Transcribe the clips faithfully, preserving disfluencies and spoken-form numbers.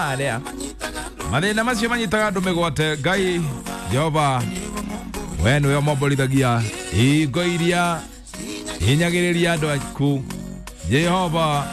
Aria mathĩna macio manyitaga andũ mĩgwate. Ngai Jehova, we nĩwe ũmomborithagia hingo iria hinyagĩrĩria andũ aku. Jehova,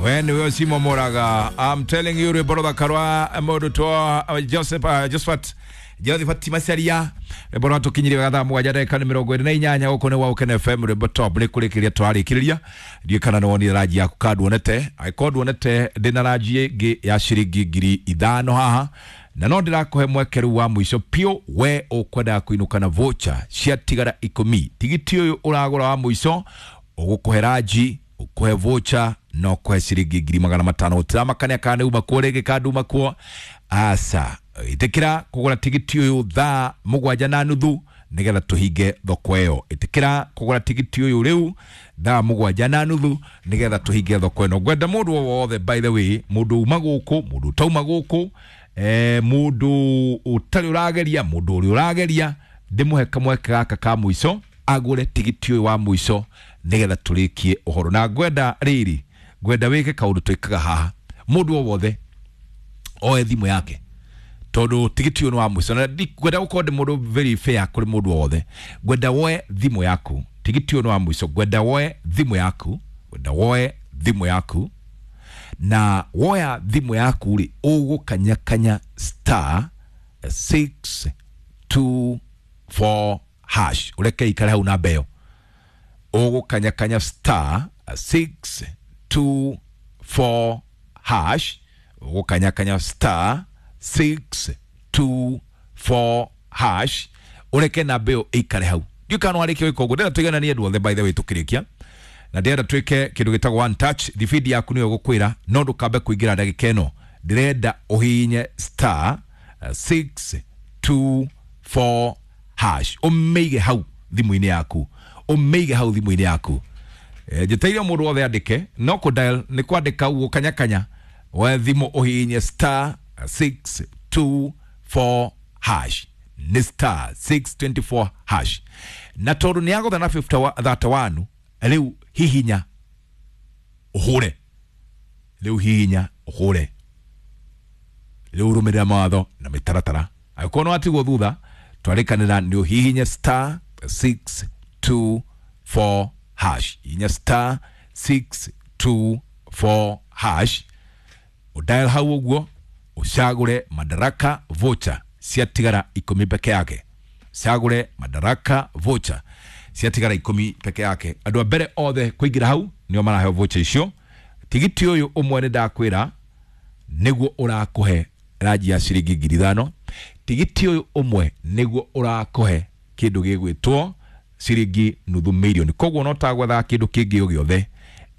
we nĩwe ũcimomoraga. I'm telling you, rwĩmbo rũthaka rwa mũndũ twa Joseph uh, Josephat Josephat Macharia, rwĩmbo rwatũkinyirie wega thaa mũgwanja ndagĩka nĩ mĩrongo ĩrĩ na inyanya. Gũkũ nĩ Waũkene F M, rwĩmbo top nĩ kũrĩkĩrĩria twarĩkĩrĩria. Ndiũĩ kana nĩ wonire ranji yaku ka nduonete. Angĩkorwo nduonete, ndĩna ranji ĩngĩ ya ciringi ngiri ithano haha, na no ndĩrakũhe mweke rĩu wa mũico piũ. We ũkwendaga kũinũka na voucher ciatigara ikũmi. Tigiti ũyũ ũragũra wa mũico ũgũkũhe ranji, ũkũhe voucher na ũkũhe ciringi ngiri magana matano. Gũtiramakania kana nĩ uma kuo rĩngĩ kana nduma kuo, aca. Ĩtĩkĩra kũgũra tigiti ũyũ thaa mũgwanja na nuthu nĩgetha tũhinge thoko ĩyo. Ĩtĩkĩra kũgũra tigiti ũyũ rĩu thaa mũgwanja na nuthu nĩgetha tũhinge thoko ĩno. Ngwenda mũndũ o wothe, by the way, mũndũ uma gũkũ, mũndũ ũtauma gũkũ, eh, mũndũ ũtarĩ ũrageria, mũndũ ũrĩa ũrageria, ndĩmũhe kamweke gaka ka mũico agũre tigiti ũyũ wa mũico nĩgetha tũrĩkie ũhoro. Na ngwenda rĩrĩ, ngwenda wĩke kaũndũ twĩkaga haha. Mũndũ o wothe oe thimũ yake, tondũ tigiti ũyũ nĩ wa mũico, na ngwenda gũkorwo ndĩ mũndũ very fair kũrĩ mũndũ o wothe. Ngwenda woe thimũ yaku, tigiti ũyũ nĩ wa mũico. Ngwenda woe thimũ yaku, ngwenda woe thimũ yaku, na woya thimũ yaku rĩ, ũgũkanyakanya star six two four hash. Ũreke ikare hau namba ĩyo. Ũgũkanyakanya star six two four hash, ũgũkanyakanya star six two four hash, ũreke namba ĩyo ĩikare hau. Ndiũĩ kana nĩwarĩkia gwĩka ũguo. Ndĩrenda tũigananie andũ othe, by the way, tũkĩrĩkia, na ndĩrenda twĩke kĩndũ gĩtagwo one touch. Thibindi yaku nĩyo gũkwĩra, no ndũkambe kũingĩra ndagĩka ĩno. Ndĩrenda ũhihinye star six two four hash, ũmĩige hau thimũ-inĩ yaku, ũmĩige hau thimũ-inĩ yaku. Eh, njĩtĩire mũndũ wothe andĩke, no kũ dial nĩ kwandĩka ũguo kanyakanya. We thimũ ũhihinye star six two four hash, nĩ star six twenty four hash. Na tondũ nĩ yagũtha na thirty one, rĩu hihinya ũhũre, rĩu hihinya ũhũre, rĩu rũmĩrĩra mawatho na mĩtaratara. Angĩkorwo nĩ watigwo thutha, twarĩkanĩra nĩ ũhihinye star six two four hash. Hihinya star six two four hash, ũdial hau ũguo, ũcagũre Madaraka voucher ciatigara ikũmi peke yake. Cagũre Madaraka voucher ciatigara ikũmi peke yake. Andũ a mbere othe kũingĩra hau nĩo maraheo voucher icio. Tigiti ũyũ ũmwe nĩ ndakwĩra nĩguo ũrakũhe ranji ya ciringi ngiri ithano. Tigiti ũyũ ũmwe nĩguo ũrakũhe kĩndũ gĩgwĩtwo ciringi nuthu mirioni. Koguo no tagwethaga kĩndũ kĩngĩ o gĩothe,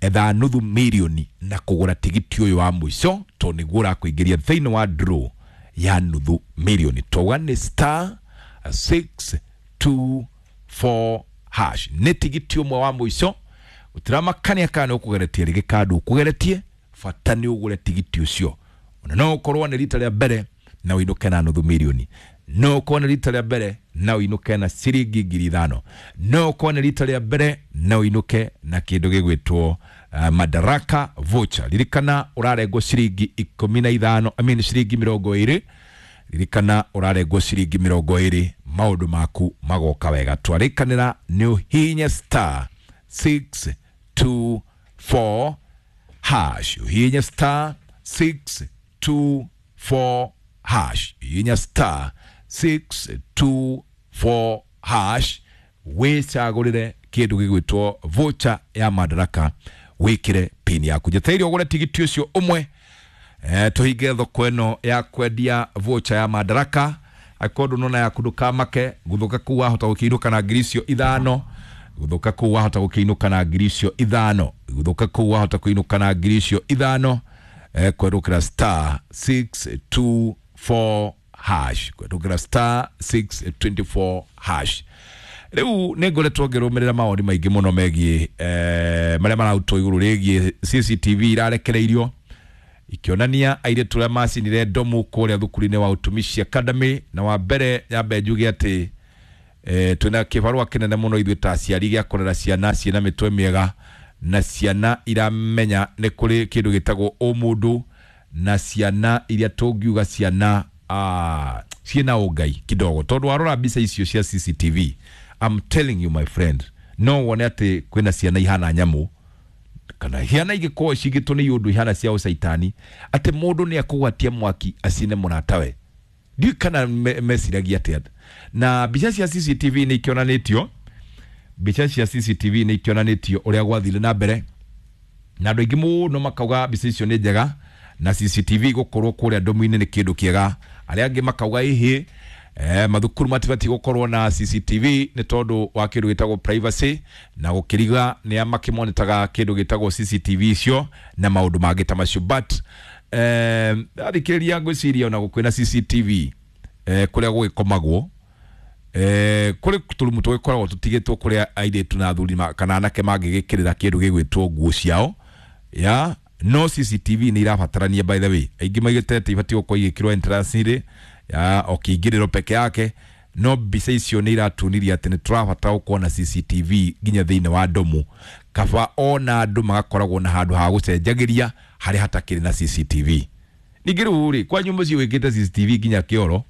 etha nuthu mirioni na kũgũra tigiti ũyũ wa mũico, tondũ nĩguo ũrakũingĩria thĩinĩ wa draw ya nuthu mirioni. Twauga nĩ star six two four hash, nĩ tigiti ũmwe wa mũico. Gũtiramakania kana nĩ ũkũgeretie rĩngĩ kana ndũkũgeretie, bata nĩ ũgũre tigiti ũcio. Ona no ũkorwo nĩ rita rĩa mbere na ũinũke na nuthu mirioni, no ũkorwo nĩ rita rĩa mbere na ũinũke na ciringi ngiri ithano, no ũkorwo nĩ rita rĩa mbere na ũinũke na kĩndũ gĩgwĩtwo uh, Madaraka voucher. Ririkana ũrarengwo ciringi ikũmi na ithano, I mean ciringi mĩrongo ĩrĩ. Ririkana ũrarengwo ciringi mĩrongo ĩrĩ, maũndũ maku magoka wega. Twarĩkanĩra nĩ ũhihinye star six two four hash, ũhihinye star six two four hash, hihinya star six two four hash, wĩcagũrĩre kĩndũ gĩgwĩtwo voucher ya Madaraka, wĩkĩre pin yaku. Njeteire ũgũre tigiti ũcio ũmwe, eh, tũhinge thoko ĩno ya kwendia voucher ya Madaraka. Angĩkorwo ndũnona yaku, ndũkamake. Gũthũka kũu wahota gũkĩinũka na ngiri icio ithano. Gũthũka kũu wahota gũkĩinũka na ngiri icio ithano. Gũthũka kũu wahota kũinũka na ngiri icio ithano, eh, kwerũkĩra star six two four hash, kwerũkĩra star six twenty four hash. Rĩu nĩ ngoretwo ngĩrũmĩrĩra mawoni maingĩ mũno megiĩ eh, marĩa mararutwo igũrũ rĩgiĩ C C T V irarekereirio ikĩonania airĩtu arĩa macinire ndomu kũrĩa thukuru-inĩ wa Utumishi Academy. Na wa mbere nyambe njuge atĩ eh, twĩna kĩbarũa kĩnene mũno ithuĩ ta aciari gĩa kũrera ciana ciĩna mĩtwe mĩega na ciana iramenya nĩ kũrĩ kĩndũ gĩtagwo ũmũndũ, Na ciana iria tũngiuga ciana ah, ciĩna ũngai kidogo, tondũ warora mbica icio cia C C T V, I'm telling you, my friend, no wone atĩ kwĩna ciana ihana nyamũ kana ciana igĩkorwo cigĩtwo nĩ iũndũ ihana cia ũcaitani, atĩ mũndũ nĩ akũgwatia mwaki acine mũratawe. Ndiũĩ kana me, meciragia atĩa. Na mbica cia C C T V nĩ ikĩonanĩtio, mbica cia C C T V nĩ ikĩonanĩtio ũrĩa gwathire na mbere, na andũ aingĩ mũno makauga mbica icio nĩ njega na C C T V gũkorwo kũrĩa ndomu-inĩ nĩ kĩndũ kĩega. Arĩa angĩ makauga ĩhĩ, eh, mathukuru matibatiĩ gũkorwo na C C T V nĩ tondũ wa kĩndũ gĩtagwo privacy, na gũkĩriga nĩ a makĩmonitaga kĩndũ gĩtagwo C C T V icio na maũndũ mangĩ ta macio. But eh, athikĩrĩria, ngwĩciria ona kwĩna C C T V eh, kũrĩa gũgĩkomagwo, eh, kũrĩ tũrumu tũgĩkoragwo tũtigĩtwo kũrĩa airĩtu na athuri ma- kana anake mangĩgĩkĩrĩra kĩndũ gĩgwĩtwo nguo ciao ya. No C C T V nĩ irabatarania. By the way, aingĩ maigĩte atĩ ibatiĩ gũkorwo igĩkĩrwo entrance-inĩ ya o kĩingĩrĩro peke yake, no mbica icio nĩ iratunirie atĩ nĩ tũrabatara gũkorwo na C C T V nginya thĩinĩ wa ndomu, kaba ona andũ magakoragwo na handũ ha gũcenjagĩria harĩa hatakĩrĩ na C C T V. Ningĩ rĩu rĩ, kwanyu mũciĩ wĩkĩte C C T V nginya kĩoro,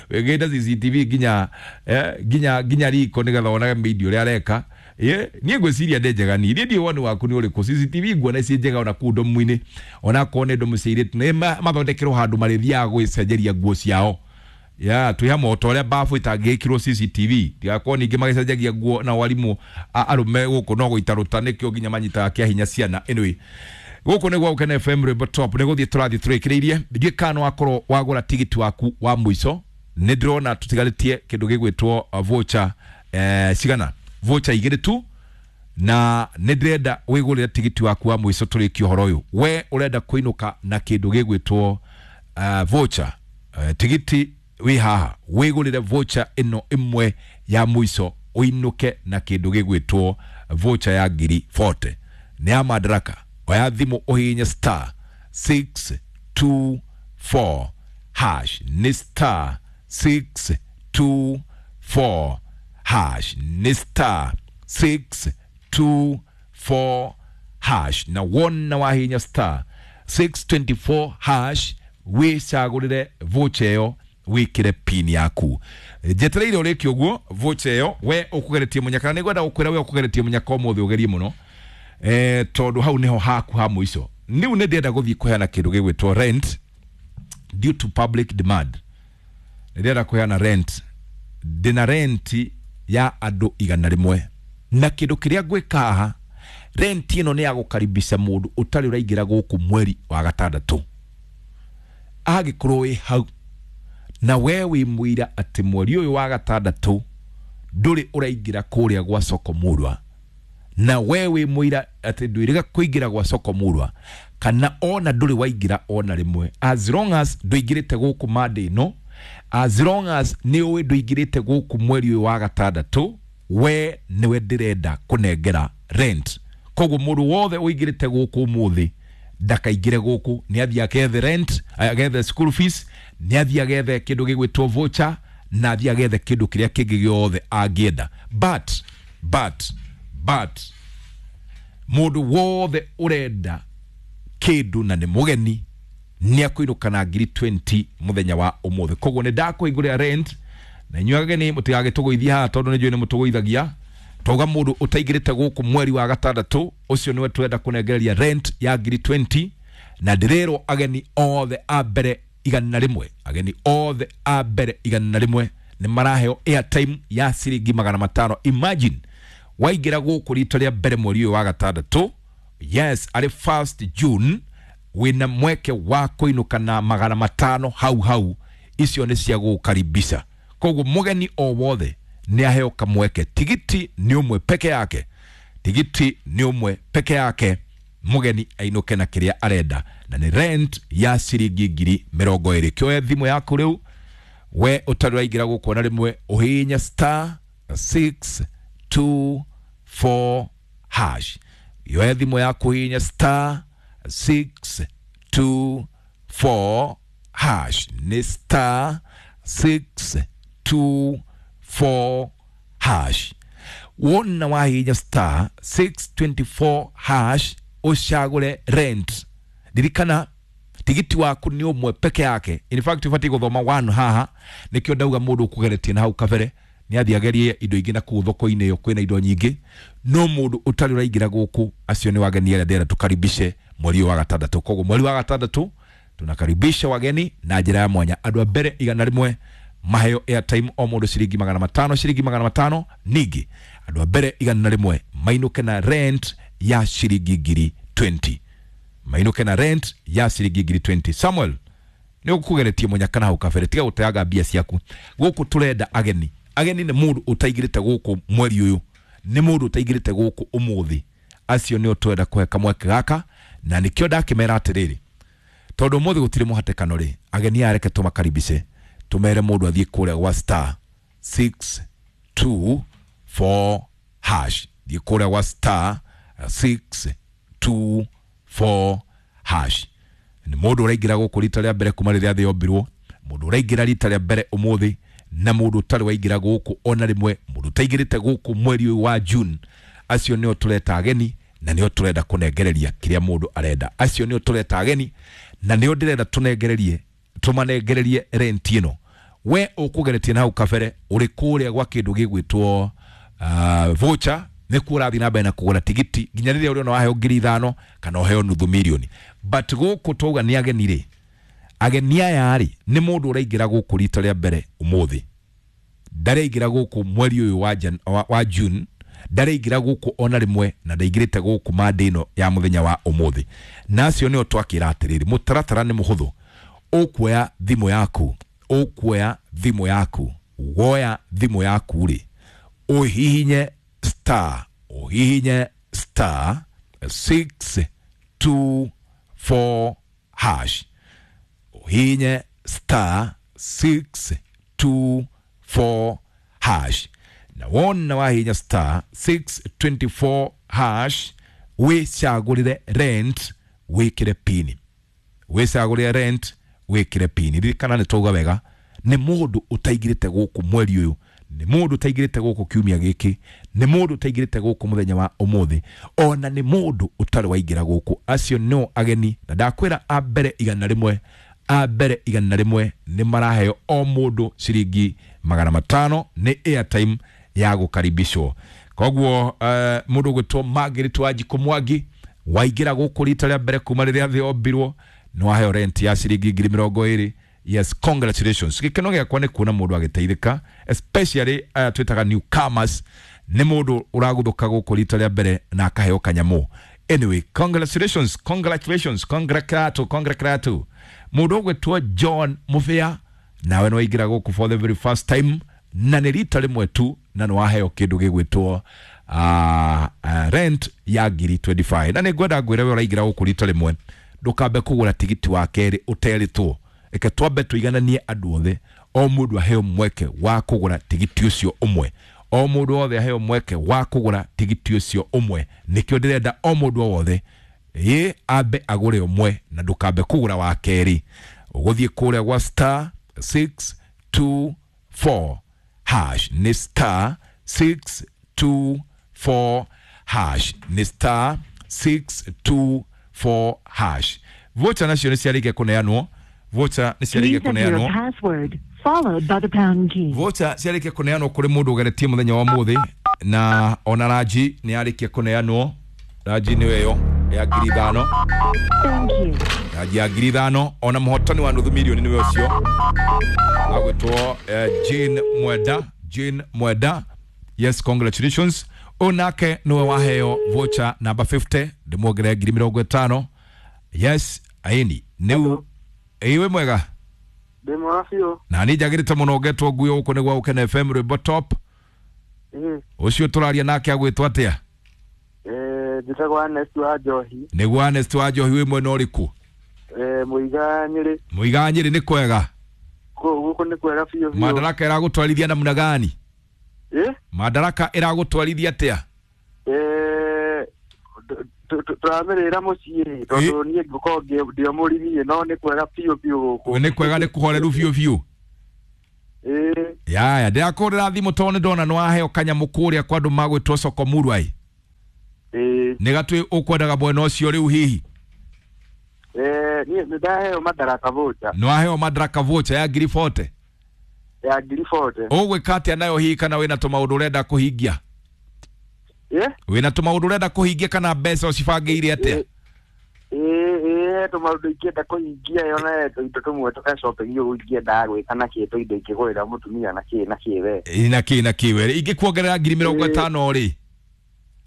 wĩkĩte C C T V nginya eh, nginya nginya riko nĩgetha wonage media ũrĩa areka. Ye, niĩ ngwĩciria nĩ njega. Niĩ niĩ woni waku nĩ ũrĩkũ? C C T V nguona ciĩ njega ona kũu ndomu-inĩ, ona akorwo nĩ ndomu cia airĩtu, nĩ ma- mathondekerwo handũ marĩthiaga gwĩcenjeria nguo ciao ya twĩ hamwe, o ta ũrĩa bafu itangĩkĩrwo C C T V, tigakorwo ningĩ magĩcenjagia nguo na warimũ a- arũme gũkũ no gũitarũta nĩkĩo nginya manyitaga kĩa hinya ciana. Anyway, gũkũ nĩ gwa Gũkena F M, rwĩmbo top. Nĩ gũthiĩ tũrathiĩ tũrĩkĩrĩirie. Ndiũĩ kana nĩ wakorwo wagũra tigiti waku wa mũico. Nĩ ndĩrona tũtigarĩtie kĩndũ gĩgwĩtwo uh, voucher eh, cigana, voucher igĩrĩ tu, na nĩ ndĩrenda wĩgũrĩre tigiti waku wa mũico tũrĩkie ũhoro ũyũ. We ũrenda kũinũka na kĩndũ gĩgwĩtwo uh, voucher, uh, tigiti wĩ haha, wĩgũrĩre voucher ĩno ĩmwe ya mũico ũinũke na kĩndũ gĩgwĩtwo voucher ya ngiri mĩrongo ĩna. Nĩ ya Madaraka. Oya thimũ ũhihinye star six two four hash. Nĩ star six two four hash, nĩ star six two four hash. Na wona wahihinya star six two four hash, wĩcagũrĩre voucher ĩyo, wĩkĩre pin yaku. Njetereire ũrĩkie ũguo voucher ĩyo. We ũkũgeretie mũnyaka, na nĩngwenda gũkwĩra, we ũkũgeretie mũnyaka ũmũthĩ, ũgerie mũno eh, tondũ hau nĩho haku ha mũico. Rĩu nĩ ndĩrenda gũthiĩ kũheana kĩndũ gĩgwĩtwo rent. Due to public demand, nĩ ndĩrenda kũheana rent. Ndĩna rent ya andũ igana rĩmwe, na kĩndũ kĩrĩa ngwĩka haha, rent ĩno nĩ ya gũkaribisha mũndũ ũtarĩ ũraingĩra gũkũ mweri wa gatandatũ. Angĩkorwo wĩ hau na we wĩ mũira atĩ mweri ũyũ wa gatandatũ ndũrĩ ũraingĩra kũrĩa gwa soko mũrwa, na we wĩ mũira atĩ ndwĩrĩga kũingĩra gwa soko mũrwa, kana ona ndũrĩ waingĩra ona rĩmwe, as long as ndũingĩrĩte gũkũ mande ĩno, as long as nĩ ũĩ ndũingĩrĩte gũkũ mweri ũyũ wa gatandatũ, we nĩwe ndĩrenda kũnengera rent. Koguo mũndũ wothe ũingĩrĩte gũkũ ũmũthĩ ndakaingĩre gũkũ, nĩ athiĩ agethe rent, agethe school fees, nĩ athiĩ agethe kĩndũ gĩgwĩtwo voucher, na athiĩ agethe kĩndũ kĩrĩa kĩngĩ gĩothe angĩenda. but but but mũndũ wothe ũrenda kĩndũ na nĩ mũgeni nĩ akũinũka na ngiri mĩrongo ĩrĩ mũthenya wa ũmũthĩ. Koguo nĩ ndakũhingũrĩra rent, na inyuĩ ageni mũtigagĩtũgũithie haha, tondũ nĩ njũĩ nĩ mũtũgũithagia. Twauga mũndũ ũtaingĩrĩte gũkũ mweri wa gatandatũ, ũcio nĩwe tũrenda kũnengereria rent ya ngiri mĩrongo ĩrĩ. Na ndĩrerwo ageni othe a mbere igana rĩmwe, ageni othe a mbere igana rĩmwe nĩ maraheo airtime ya ciringi magana matano. Imagine waingĩra gũkũ rita rĩa mbere mweri ũyũ wa gatandatũ, yes, arĩ first June, wĩna mweke wa kũinũka na magana matano hau hau. Icio nĩ cia gũkaribisha. Koguo mũgeni o wothe nĩ aheo kamweke. Tigiti nĩ ũmwe peke yake, tigiti nĩ ũmwe peke yake, mũgeni ainũke na kĩrĩa arenda, na nĩ rent ya ciringi ngiri mĩrongo ĩrĩ. Kĩoe thimũ yaku rĩu, we ũtarĩ ũraingĩra gũkũ ona rĩmwe, ũhihinye star six two four hash. Yoe thimũ yaku, ũhihinye star six two four hash. Nĩ star six two four hash. Wona wahihinya star six two four hash, ũcagũre rent. Ririkana Tigiti waku nĩ ũmwe peke yake. In fact ũbatiĩ gũthoma one haha, nĩkĩo ndauga mũndũ ũkũgeretie na hau kabere nĩ athiĩ agerie indo ingĩ na kũu thoko-inĩ ĩyo kwĩna indo nyingĩ. No mũndũ ũtarĩ ũraingĩra gũkũ, acio nĩ wageni arĩa ndĩrenda tũkaribishe mweri ũyũ wa gatandatũ. Koguo mweri wa gatandatũ tunakaribisha wageni na njĩra ya mwanya. Andũ a mbere igana rĩmwe maheo airtime o mũndũ ciringi magana matano, ciringi magana matano. Ningĩ andũ a mbere igana rĩmwe mainũke na rent ya ciringi ngiri mĩrongo ĩĩrĩ, mainũke na rent ya ciringi ngiri mĩrongo ĩĩrĩ. Samuel, nĩ ũkũgeretie mũnyaka na hau kabere, tiga gũteaga mbia ciaku. Gũkũ tũrenda ageni. Ageni nĩ mũndũ ũtaingĩrĩte gũkũ mweri ũyũ, nĩ mũndũ ũtaingĩrĩte gũkũ ũmũthĩ. Acio nĩo twenda kũhe kamweke gaka, na nĩkĩo ndakĩmera atĩrĩrĩ, tondũ ũmũthĩ gũtirĩ mũhatĩkano rĩ, ageni aya reke tũmakaribice, tũmere mũndũ athiĩ kũrĩa gwa star six two four hash. Thiĩ kũrĩa gwa star six two four hash. Nĩ mũndũ ũraingĩra gũkũ rita rĩa mbere kuma rĩrĩa thĩ yombirwo, mũndũ ũraingĩra rita rĩa mbere ũmũthĩ, na mũndũ ũtarĩ waingĩra gũkũ ona rĩmwe, mũndũ ũtaingĩrĩte gũkũ mweri ũyũ wa June. Acio nĩo tũreta ageni na nĩo tũrenda kũnengereria kĩrĩa mũndũ arenda. Acio nĩo tũreta ageni na nĩo ndĩrenda tũnengererie, tũmanengererie rent ĩno. We ũkũgeretie na hau kabere ũrĩ kũrĩa gwa kĩndũ gĩgwĩtwo uh, voucher, nĩkuo ũrathiĩ na mbere na kũgũra tigiti nginya rĩrĩa ũrĩona waheo ngiri ithano kana ũheo nuthu mirioni. But gũkũ twauga nĩ ageni rĩ, ageni aya rĩ, nĩ mũndũ ũraingĩra gũkũ rita rĩa mbere ũmũthĩ, ndareingĩra gũkũ mweri ũyũ wa, Jan, wa, wa June, ndareingĩra gũkũ ona rĩmwe, na ndaingĩrĩte gũkũ mande ĩno ya mũthenya wa ũmũthĩ. Na acio nĩo twakĩra atĩrĩrĩ, mũtaratara nĩ mũhũthũ. Ũkuoya thimũ yaku, ũkuoya thimũ yaku, woya thimũ yaku rĩ, ũhihinye star, ũhihinye star six two four hash, ũhihinye star six two four hash. Na wona wahihinya star six two four hash, wĩcagũrĩre rent, wĩkĩre pini, wĩcagũrĩre rent, wĩkĩre pini. Ririkana nĩ twauga wega, nĩ mũndũ ũtaingĩrĩte gũkũ mweri ũyũ, nĩ mũndũ ũtaingĩrĩte gũkũ kiumia gĩkĩ, nĩ mũndũ ũtaingĩrĩte gũkũ mũthenya wa ũmũthĩ, ona nĩ mũndũ ũtarĩ waingĩra gũkũ. Acio no ageni, na ndakwĩra a mbere igana rĩmwe, a mbere igana rĩmwe nĩ maraheo o mũndũ ciringi magana matano, nĩ airtime ya gũkaribishwo. Koguo uh, mũndũ ũgwĩtwo Margaret Wanjikũ Mwangi, waingĩra gũkũ rita rĩa mbere kuma rĩrĩa thĩ yombirwo, nĩ waheo rent ya ciringi ngiri mĩrongo ĩrĩ. Yes, congratulations. Gĩkeno gĩakwa nĩ kuona mũndũ agĩteithĩka, especially aya twĩtaga newcomers, nĩ mũndũ ũragũthũka gũkũ rita rĩa mbere na akaheo kanyamũ. Anyway, congratulations, congratulations, congratulato, congratulato. Mũndũ ũgwĩtwo John Mũbĩa, nawe nĩ waingĩra gũkũ for the very first time, na nĩ rita rĩmwe tu, na nĩ waheo kĩndũ gĩgwĩtwo uh, uh, rent ya ngiri mĩrongo ĩĩrĩ na ithano. Na nĩ ngwenda ngwĩre, we ũraingĩra gũkũ rita rĩmwe, ndũkambe kũgũra tigiti wa kerĩ ũterĩtwo. Reke twambe tũigananie andũ othe, o mũndũ aheo mweke wa kũgũra tigiti ũcio ũmwe, o mũndũ wothe aheo mweke wa kũgũra tigiti ũcio ũmwe. Nĩkĩo ndĩrenda o mũndũ o wothe ĩ ambe agũre ũmwe, na ndũkambe kũgũra wa kerĩ. Ũgũthiĩ kũrĩa gwa star six two four hash, nĩ star six two four hash, nĩ star six two four hash. Voucher nacio nĩ ciarĩkia kũneanwo, voucher nĩ ciarĩkia Please enter your kũneanwo. Password, followed by the pound key. Voucher ciarĩkia kũneanwo kũrĩ mũndũ ũgeretie mũthenya wa mũthĩ, na ona ranji nĩ yarĩkia kũneanwo. Ranji nĩyo ĩyo ya ngiri ithano. Thank you. Ranji ya ngiri ithano. Ona mũhotani wa nuthu milioni nĩwe ũcio agwĩtwo eh, Jane Mwenda, Jane Mwenda. Yes, congratulations. Ũyũ nake nĩwe waheo voucher namba mĩrongo ĩtano, ndĩmuongerere ngiri mĩrongo ĩtano. Yes, aini nĩu ĩĩ, wĩ mwega? Ndĩ mwega biũ. Na nĩ njagĩrĩte mũno. Ngetwo nguo gũkũ nĩ gwa Gũkena F M, rwĩmbo top. Ĩĩ. Ũcio tũraria nake agwĩtwo atĩa? Eh, njĩtagwo Ernest wa Njohi. Nĩguo, Ernest wa Njohi, wĩ mwena ũrĩkũ? Eh, Mũiga Nyĩrĩ. Mũiga Nyĩrĩ, nĩ kwega? Kũu gũkũ nĩ kwega biũ biũ. Madaraka ĩragũtwarithia namna gani? Ĩ? Madaraka ĩragũtwarithia atĩa? Eh, tũramĩrĩra mũciĩ tondũ niĩ ngũkorwo ngĩ- ndĩ o mũrĩmi, no nĩ kwega biũ biũ gũkũ. Nĩ kwega, nĩ kũhoreru biũ biũ? Ĩĩ. Yaya, ndĩrakũrĩra thimũ tondũ nĩ ndona nĩ waheo kanyamũ kũrĩa kwa andũ magwĩtwo soko murwai. Ĩĩ. Nĩ gatwĩ ũkwendaga mwena ũcio rĩu hihi? Eh, niĩ nĩ ndaheo Madaraka voucher. Nĩ waheo Madaraka voucher ya ngiri forty? Ya ngiri forty. Ũgwĩka atĩa nayo hihi, kana wĩna tũmaũndũ ũrenda kũhingia? Eh? Wĩna tũmaũndũ ũrenda kũhingia kana mbeca ũcibangĩire atĩa? Ĩĩ, ĩĩ, tũmaũndũ ingĩenda kũhingia yo, na tũindo tũmwe tũka shopping ũguo ingĩendaga gwĩka na kĩ, tũindo ingĩgũrĩra mũtumia na kĩ na kĩ we. Ĩ, na kĩ na kĩ we? Ingĩkuongerera ngiri mĩrongo ĩtano rĩ?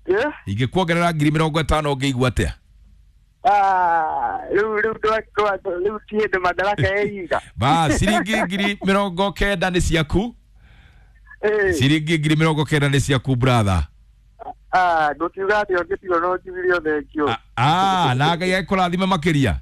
Eh? Ingĩkuongerera ngiri mĩrongo ĩtano ũngĩigua atĩa? Ah, rĩu rĩu twa rĩu ti hĩndĩ Madaraka ĩiga. Ba ciringi ngiri mĩrongo kenda nĩ ciaku. Ĩĩ. Ciringi ngiri mĩrongo kenda nĩ ciaku, brother. Ah, ndũkiuga atĩ ũngĩtigwo no njugire thengio. Ah, na Ngai ekũrathime makĩria.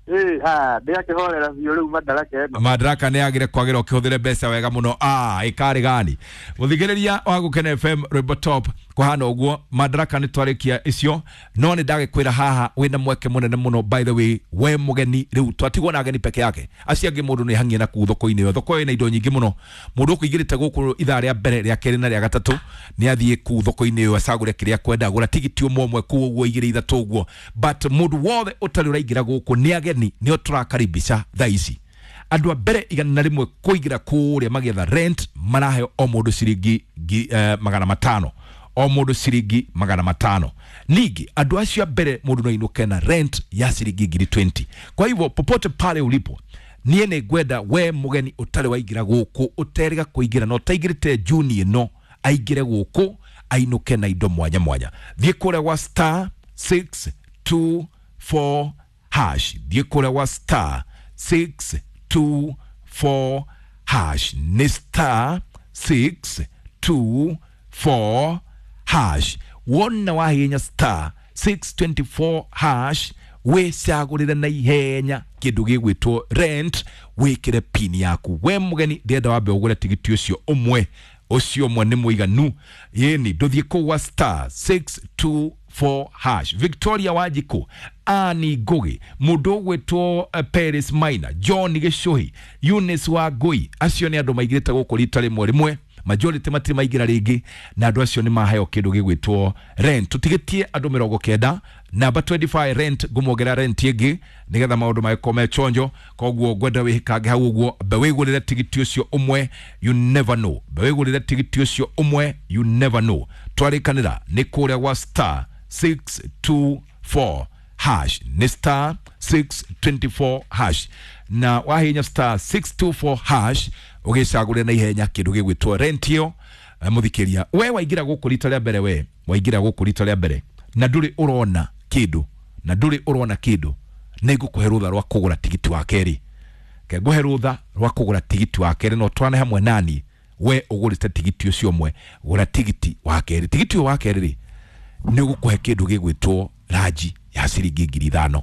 Ĩĩ, ah, ndĩakĩhorera biũ rĩu Madaraka ĩno. Madaraka nĩ yagire kwagĩra ũkĩhũthĩre mbeca wega mũno. Ah, ĩkarĩ gani mũthikĩrĩria wa Gũkena F M Rwĩmbo Top, kũhana ũguo Madaraka nĩ twarĩkia icio, no nĩ ndagĩkwĩra haha wĩna mweke mũnene mũno. By the way, we mũgeni rĩu twatigwo na ageni peke yake, acio angĩ mũndũ nĩ hangie na kuu thoko-inĩ ĩyo. Thoko ĩna indo nyingĩ mũno. Mũndũ ũkũingĩrĩte gũkũ ithaa rĩa mbere, rĩa kerĩ na rĩa gatatũ nĩ athiĩ kuu thoko-inĩ ĩyo acagũre kĩrĩa kwenda, gũra tigiti ũmwe ũmwe kuu ũguo, igĩrĩ ithatũ ũguo. But mũndũ wothe ũtarĩ ũraingĩra gũkũ nĩ ageni, nĩo tũrakaribisha thaa ici. Andũ a mbere igana na rĩmwe kũingĩra kũrĩa magĩetha rent maraheo o mũndũ ciringi eh, magana matano, o mũndũ ciringi magana matano. Ningĩ andũ acio a mbere mũndũ no ainũke na rent ya ciringi ngiri twenty. Kwa hivyo popote pale ulipo, niĩ nĩ ngwenda we mũgeni ũtarĩ waingĩra gũkũ, ũterĩga kũingĩra na ũtaingĩrĩte Juni ĩno, aingĩre gũkũ ainũke na indo mwanya mwanya. Thiĩ kũrĩa gwa star six two four hash, thiĩ kũrĩa gwa star six two four hash, nĩ star six two four hash. Wona wahinya star six twenty-four hash, wĩcagũrĩre na ihenya kĩndũ gĩgwĩtwo rent, wĩkĩre pin yaku. We mũgeni ndĩrenda wambe ũgũre tigiti ũcio ũmwe, ũcio ũmwe nĩ mũiganu. Yĩni ndũthiĩ kũu gwa star six two four hash. Victoria Wanjikũ, Annie Ngugi, mũndũ ũgwĩtwo uh, Paris Maina, John Gĩcũhi, Eunice Wangui, acio nĩ andũ maigĩrĩte gũkũ rita rĩmwe rĩmwe, majority matirĩ maingĩra rĩngĩ, na andũ acio nĩ maheo kĩndũ gĩgwĩtwo rent. Tũtigĩtie andũ mĩrongo kenda, namba twenty-five rent, ngũmuongerera rent ĩngĩ nĩgetha maũndũ magĩkorwo me chonjo. Koguo ngwenda wĩhĩkange hau ũguo, mbe wĩgũrĩre tigiti ũcio ũmwe, you never know. Mbe wĩgũrĩre tigiti ũcio ũmwe, you never know. Twarĩkanĩra nĩ kũrĩa gwa star six two four hash, nĩ star six twenty-four hash, na wahinya star six two four hash ũgĩcagũrĩra na ihenya kĩndũ gĩgwĩtwo rent ĩyo. Mũthikĩria, we waingĩra gũkũ rita rĩa mbere, we waingĩra gũkũ rita rĩa mbere na ndũrĩ ũrona kĩndũ, na ndũrĩ ũrona kĩndũ, nĩ ngũkũhe rũtha rwa kũgũra tigiti wa kerĩ. Ke ngũhe rũtha rwa kũgũra tigiti wa kerĩ, no twane hamwe nani we ũgũrĩte tigiti ũcio ũmwe, gũra tigiti wa kerĩ. Tigiti ũyũ wa kerĩ rĩ, nĩ ũgũkũhe kĩndũ gĩgwĩtwo ranji ya ciringi ngiri ithano.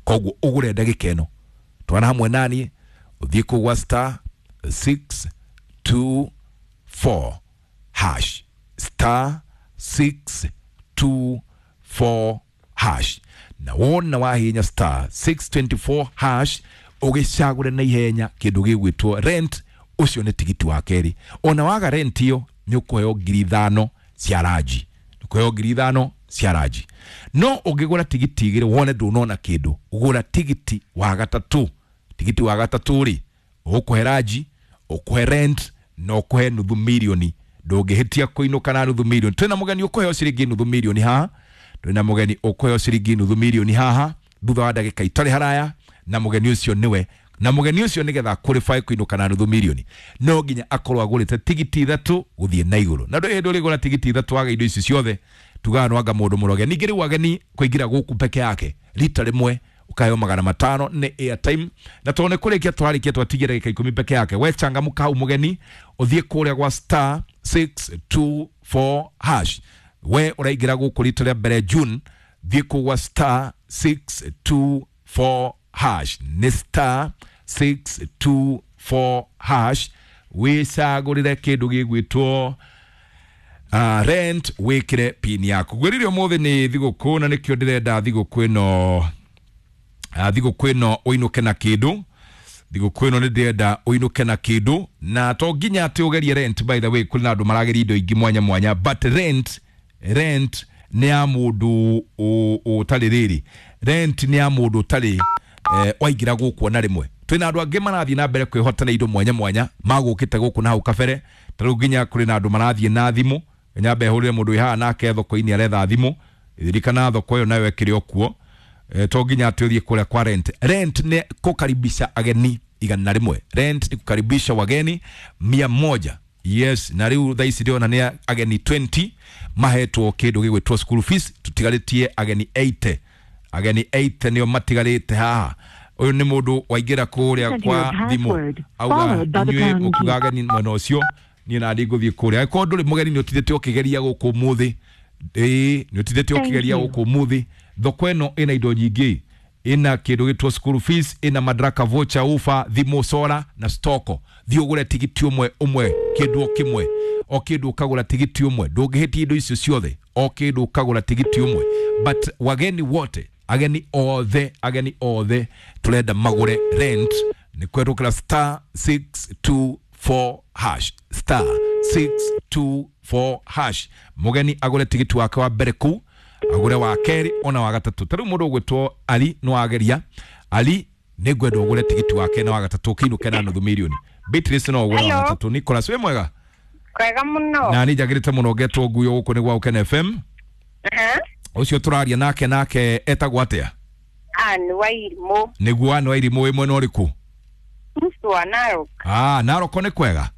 Koguo ũgũre ndagĩka ĩno, twana hamwe nani ũthiĩ kũu gwa star six two four hash, star six two four hash, na wona wahinya star six twenty-four hash ũgĩcagũre na ihenya kĩndũ gĩgwĩtwo rent, ũcio nĩ tigiti wa kerĩ. Ona waga rent ĩyo nĩ ũkũheo ngiri ithano cia ranji, ũkũheo ngiri ithano cia ranji. No ũngĩgũra tigiti igĩrĩ wone ndũnona kĩndũ, gũra tigiti wa gatatũ. Tigiti wa gatatũ rĩ, ũkũhe ranji, ũkũhe rent na ũkũhe nuthu mirioni. Ndũngĩhĩtia kũinũka na nuthu mirioni. Twĩna mũgeni ũkũheo ciringi nuthu mirioni haha, twĩna mũgeni ũkũheo ciringi nuthu mirioni haha thutha wa ndagĩka itarĩ haraya, na mũgeni ũcio nĩwe, na mũgeni ũcio nĩgetha qualify kũinũka na nuthu mirioni no nginya akorwo agũrĩte tigiti ithatũ gũthiĩ na igũrũ. Na ndũrĩ hĩndĩ ũrĩgũra tigiti ithatũ waga indo ici ciothe, tugaga no anga mũndũ mũroge. Ningĩ rĩu ageni kũingĩra gũkũ peke yake rita rĩmwe ũkaheo magana matano nĩ airtime, na tondũ nĩ kũrĩkia twarĩkia twatigia ndagĩka ikũmi peke yake, we changamka hau mũgeni, ũthiĩ kũrĩa gwa star six two four hash. We ũraingĩra gũkũ rita rĩa mbere June, thiĩ kũu gwa star six two four hash, nĩ star six two four hash, wĩcagũrĩre kĩndũ gĩgwĩtwo uh, rent, wĩkĩre pin yaku. Ngwĩrire ũmũthĩ nĩ thigũkũ, na nĩkĩo ndĩrenda thigũkũ ĩno, uh, thigũkũ ĩno ũinũke na kĩndũ. Thigũkũ ĩno nĩ ndĩrenda ũinũke na kĩndũ, na to nginya atĩ ũgerie rent. By the way, kũrĩ na andũ marageria indo ingĩ mwanya mwanya, but rent, rent nĩ ya mũndũ ũtarĩ rĩrĩ, Rent nĩ ya mũndũ ũtarĩ eh, waingĩra gũkũ ona rĩmwe. Twĩna andũ angĩ marathiĩ na mbere kwĩhota na indo mwanya mwanya magũkĩte gũkũ na hau kabere. Ta rĩu nginya kũrĩ na andũ marathiĩ na thimũ, nyambe hũrĩre mũndũ wĩ haha nake thoko-inĩ aretha thimũ. Ririkana thoko ĩyo nayo ĩkĩrĩ o kuo. E, to nginya atĩ ũthiĩ kũrĩa kwa rent. Rent nĩ kũkaribisha ageni igana rĩmwe. Rent ni kukaribisha wageni mia moja. Yes, na rĩu thaa ici ndĩrona nĩ ageni twenty mahetwo kĩndũ gĩgwĩtwo school fees. Tũtigarĩtie ageni eighty. Ageni eighty nĩo matigarĩte haha. Ũyũ nĩ mũndũ waingĩra kũrĩa kwa thimũ auga inyuĩ mũkiuga ageni mwena ũcio, niĩ na ndingũthiĩ kũrĩa. Angĩkorwo ndũrĩ mũgeni nĩ ũtindĩte ũkĩgeria gũkũ ũmũthĩ, ĩĩ nĩ ũtindĩte ũkĩgeria gũkũ ũmũthĩ. Thoko ĩno ĩna indo nyingĩ, ĩna kĩndũ gĩtwo school fees, ĩna madaraka voucher, ufa, thimũ, sora na stoko. Thiĩ ũgũre tigiti ũmwe ũmwe, kĩndũ o kĩmwe, o kĩndũ ũkagũra tigiti ũmwe, ndũngĩhĩtia indo icio ciothe, o kĩndũ ũkagũra tigiti ũmwe. But wageni wote, ageni othe, ageni othe turenda magũre rent nĩ kwerũkĩra star six two four hash, star six two four hash. Mũgeni agũre tigiti wake wa mbere kũu, agũre wa kerĩ ona wa gatatũ. Ta rĩu mũndũ ũgwĩtwo Ali no ageria. Ali nĩ ngwenda ũgũre tigiti wake na wa gatatũ ũkĩinũke na nuthu mirioni. Beatrice no ũgũre wa gatatũ. Nicholas wĩ mwega? Kwega mũno. Na niĩ njagĩrĩte mũno ngetwo nguyo gũkũ nĩ gwa Ũkene F M. Ũcio tũraria nake nake etagwo atĩa? Ann Wairimũ. Nĩguo Ann Wairimũ wĩ mwena ũrĩkũ? Wa Narok. Ah, Narok nĩ kwega?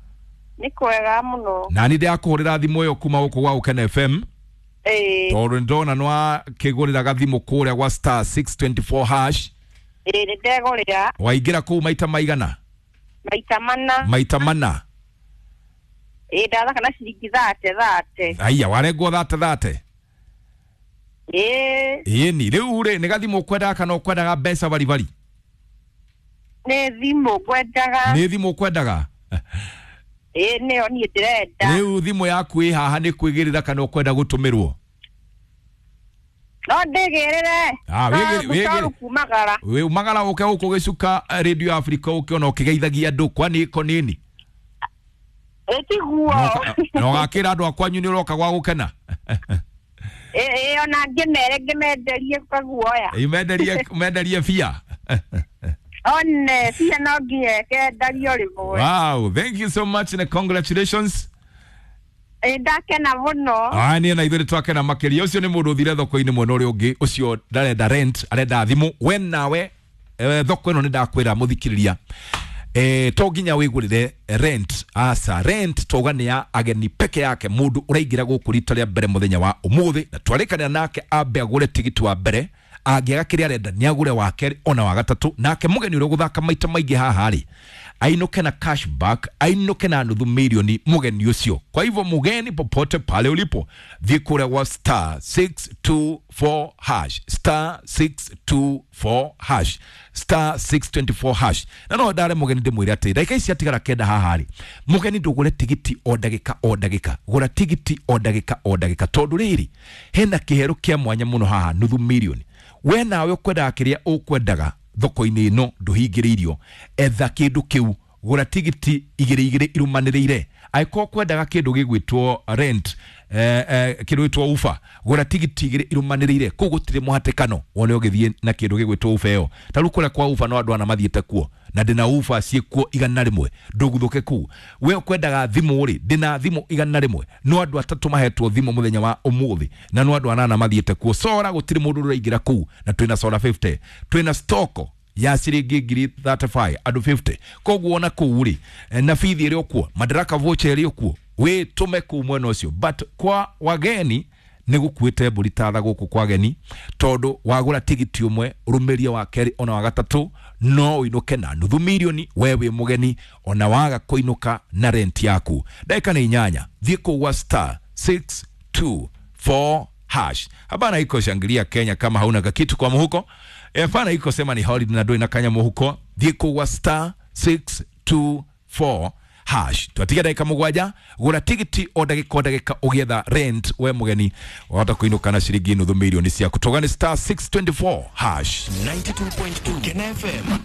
Nĩ kwega mũno. Na niĩ ndĩrakũhũrĩra thimũ ĩyo kuma gũkũ gwa Ũkene F M. Ĩĩ. Tondũ nĩndona nĩwakĩgũrĩra gathimũ kũrĩa gwa star six twenty four hash. Ĩĩ nĩndegũrĩra. Waingĩra kũu maita maigana? Maita mana. Maita mana. Ĩĩ ndathaka na ciringi thate thate. Aya, warengwo thate thate? Ĩĩ. Ĩni, rĩu rĩ nĩ gathimũ ũkwendaga kana ũkwendaga mbeca baribari? Nĩ thimũ ngwendaga. Nĩ thimũ ũkwendaga? Ĩĩ nĩyo niĩ ndĩrenda. Rĩu thimũ yaku ĩ haha nĩ kwĩgĩrĩra kana ũkwenda gũtũmĩrwo? No ndĩgĩrĩre. Ah, wĩgĩrĩre. Kumagara. Wĩ umagara ũke gũkũ gĩcuka Radio Africa ũke ona ũkĩgeithagia andũ kwani ĩko nini? Ĩtiguo. Na ũgakĩra andũ a kwanyu nĩ ũroka gwa gũkena? Ĩĩ ona ngĩmere ngĩmenderie kaguoya. Ĩ menderie menderie bia. One bia no nginya kendario rĩmwe. Wow, thank you so much and congratulations. Ĩ ndakena mũno. Ah, niĩ na ithuĩ twakena makĩria. Ũcio nĩ mũndũ ũthire thoko-inĩ mwena ũrĩa ũngĩ, ũcio ndarenda rent, arenda thimũ. We nawe thoko ĩno nĩ ndakwĩra mũthikĩrĩria, eh to nginya wĩgũrĩre rent. Asa rent toga nĩ ya ageni peke yake, mũndũ ũraingĩra gũkũ rita rĩa mbere mũthenya wa ũmũthĩ, na twarĩkanĩra nake ambe agũre tigiti wa mbere. Angĩaga kĩrĩa arenda nĩ agũre wa kerĩ ona wa gatatũ. Nake mũgeni ũrĩa ũgũthaka maita maingĩ haha rĩ ainũke na cashback, ainũke na nuthu milioni mũgeni ũcio. Kwa hivyo mũgeni popote pale ulipo, thiĩ kũrĩa gwa star six two four hash, star six two four hash, star six twenty four hash. Na no ndare mũgeni ndĩmwĩre atĩ ndagĩka ici atigara kenda haha rĩ, mũgeni ndũgũre tigiti o ndagĩka o ndagĩka, gũra tigiti o ndagĩka o ndagĩka, tondũ rĩrĩ hena kĩhero kĩa mwanya mũno haha nuthu milioni. We nawe ũkwendaga kĩrĩa ũkwendaga thoko-inĩ ĩno ndũhingĩrĩirio, etha kĩndũ kĩu, gũra tigiti igĩrĩ igĩrĩ irũmanĩrĩire. Angĩkorwo ũkwendaga kĩndũ gĩgwĩtwo rent, eh, eh, kĩndũ gĩgwĩtwo ufa, gũra tigiti igĩrĩ irũmanĩrĩire. Kũu gũtirĩ mũhatĩkano wone ũgĩthiĩ na kĩndũ gĩgwĩtwo ufa ĩyo. Ta rĩu kũrĩa kwa ufa no andũ ana mathiĩte kuo, na ndĩna ufa ciĩkuo igana rĩmwe, ndũguthũke kũu. We ũkwendaga thimũ rĩ, ndĩna thimũ igana rĩmwe, no andũ atatũ mahetwo thimũ mũthenya wa ũmũthĩ, na no andũ anana mathiĩte kuo. Sora gũtirĩ mũndũ ũraingĩra kũu, na twĩna sora fifty, twĩna stoko ya ciringi ngiri thirty five andũ fifty. Koguo ona kũu rĩ, na bithi ĩrĩ o kuo, madaraka voucher ĩrĩ o kuo, wĩ tũme kũu mwena ũcio. But kwa wageni nĩ gũkuĩte mbũri ta tha gũkũ kwa ageni, tondũ wagũra tigiti ũmwe rũmĩrie wa kerĩ ona wa gatatũ no ũinũke na nuthu milioni we wĩ mũgeni, ona waga kũinũka na rent yaku. Ndagĩka nĩ inyanya, thiĩ kũu gwa star six two four hash. Hapana iko shangilia Kenya kama hauna kakitu kwa muhuko. Hapana iko sema ni holiday na ndũrĩ na kanya muhuko. Thiĩ kũu gwa star six two four hash. Twatiga ndagĩka mũgwanja, gũra tigiti o ndagĩka o ndagĩka ũgĩetha rent we mũgeni, wahota kũinũka na ciringi nuthu milioni ciaku. Toga nĩ star six twenty four hash. ninety two point two Kena F M.